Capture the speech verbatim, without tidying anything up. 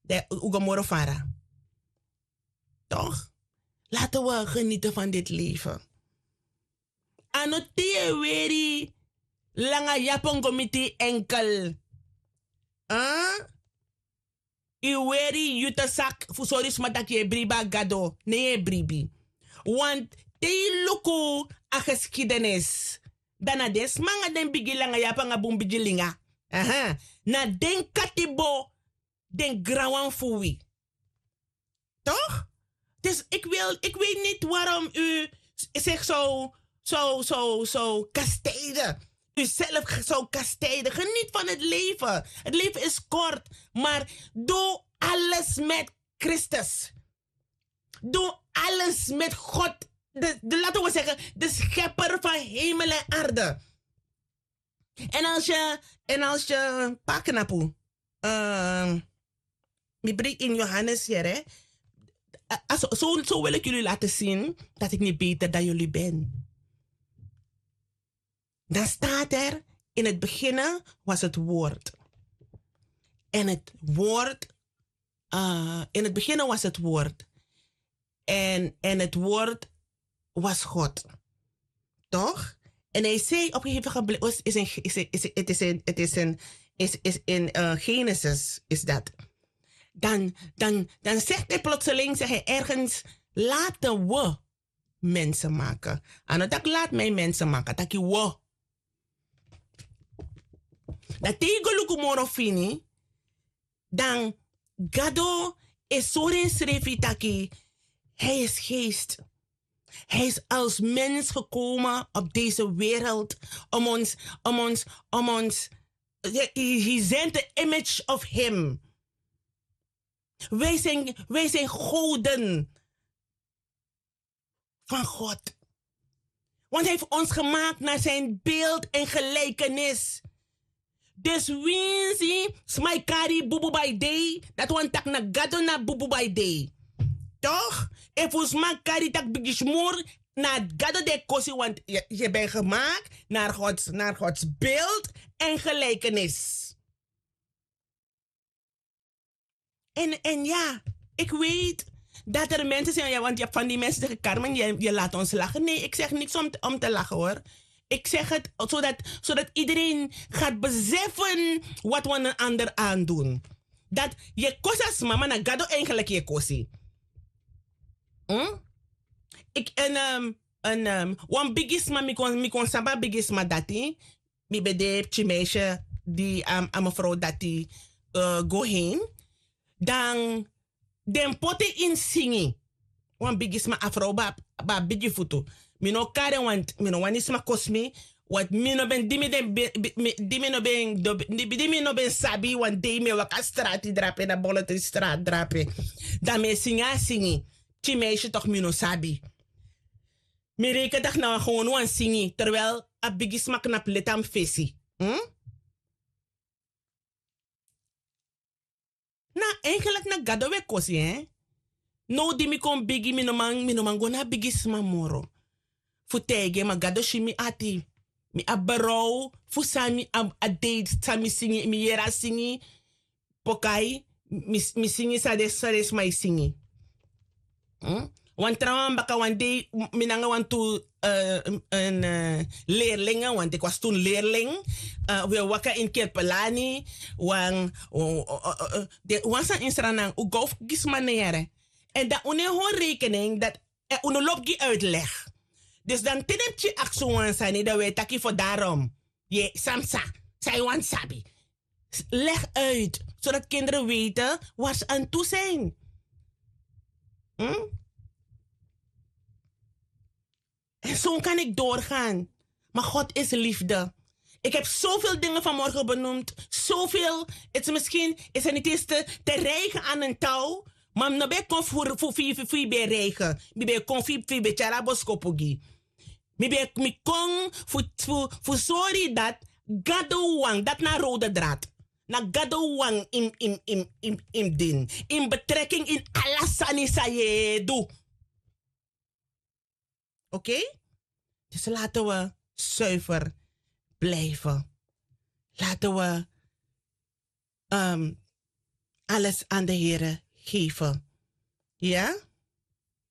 dan un go moro fara. Toch? Laten we genieten van dit leven. A no te yu e weri langa yapon go miti enkel. Yu weri yu te sak fu sori sma tak' yu e bribi a gado, ne yu e bribi. Want te yu luku a geskidenis, dan na den sma nanga den bigi langa yapu nanga bun bigi linga, na den katibo, den granwan fu wi. Toch? Dus ik wil ik weet niet warom u zich zo zo zo zo kastijden, u zelf zo kastijden. Geniet van het leven. Het leven is kort. Maar doe alles met Christus. Doe alles met God. De, de, laten we zeggen, de schepper van hemel en aarde. En als je en als je paknapu mi bring in Johannes hier, hè. Zo wil ik jullie laten zien dat ik niet beter dan jullie ben. Dan staat er: in het beginne was het woord. En het woord, in het beginne was het woord. En en het woord was God. Toch? En hij zei op een gegeven moment, is in, is in, het is in, het is in, is, is in uh, Genesis, is dat. Dan, dan, dan zegt hij plotseling, zegt hij ergens: laten we mensen maken. Aan het dak laat mij mensen maken, taki wo. Dat tegen Lukumoro fini, dan Gado e sori ensrefi taki hij is geest. Hij is als mens gekomen op deze wereld om ons, om ons, om ons. He, he sent the image of him. Wij zijn, wij zijn goden van God. Want hij heeft ons gemaakt naar zijn beeld en gelijkenis. Dus winsi sma e kari bubu bai dei, dati wani taki na Gado na bubu bai dei. Toch? Efu sma kari taki bigi smur, na Gado den e kosi, want je bent gemaakt naar Gods, naar Gods beeld en gelijkenis. En, en ja, ik weet dat er mensen zijn, ja, want je hebt van die mensen zeggen: Carmen, je, je laat ons lachen. Nee, ik zeg niks om, om te lachen, hoor. Ik zeg het zodat, zodat iedereen gaat beseffen wat we een ander aandoen. Dat je kosi a sma, ma na Gado eigenlijk je kosi. Hm? Ik, en, um, en um, wan bigi sma, mi kon, mi kon sabi a bigi sma dati. Mi ben de pikin meisje di a, a mevrouw dati, eh, go heen. Dan den poti en singi. Wan bigi sma, a vrouw ben abi bigi futu. Mi no kari en, want mi no wani sma kosi mi. Want mi no ben, di mi den, di mi no ben, di mi no ben sabi, wan dei mi e waka strati drape, na boloti strati drape. Dan mi e singi a singi. Pikin meisje toch, mi no sabi. Mi reken taki na wan gewone wan singi, terwijl a bigi sma knapu leti na mi fesi. Hm? Na, eigenlijk na Gado we kosi, hè? Now di mi kon bigi, mi no man, mi no man go na a bigi sma moro fu taigi en, ma Gado si mi ati. Mi abi berouw fu san mi abi, a dei san mi singi, mi yere a singi. Pokai, mi, mi singi san den, san den sma e singi. Hm? Wan trawan baka wan dei, mi nanga wantu, eh, en, eh, leerlingen, want ik was toen leerling. Eh, we waka in Kirpelani, wan, o, o, o, o, de, wan san in Sranan, un go fu gi sma na yere. En dan un no e hori rekening dat, eh, un no lobi gi uitleg. Dus dan te den pikin aksi un wan sani, dan we taki fu daarom. Ye, san mi sa, san yu wani sabi. Leg uit, zodat kinderen weten waar ze aan toe zijn. Hm? En zo kan ik doorgaan. Maar God is liefde. Ik heb zoveel dingen vanmorgen benoemd. Zoveel. Het is misschien, is er niet eens te, te rijgen aan een touw. Maar mi no ben kon fu, fu, fu, fu, fu yu ben rijgen. Mi ben kon fu, fu yu ben tyari a boskopu gi. Mi ben, mi kon fu, fu, fu sori dat Gado wan, dat na rode draad. Na Gado wan in, in, in, in, in din. In betrekking in ala sani san yu e du. Oké? Dus laten we zuiver blijven. Laten we, ehm, alles aan de Here geven. Ja?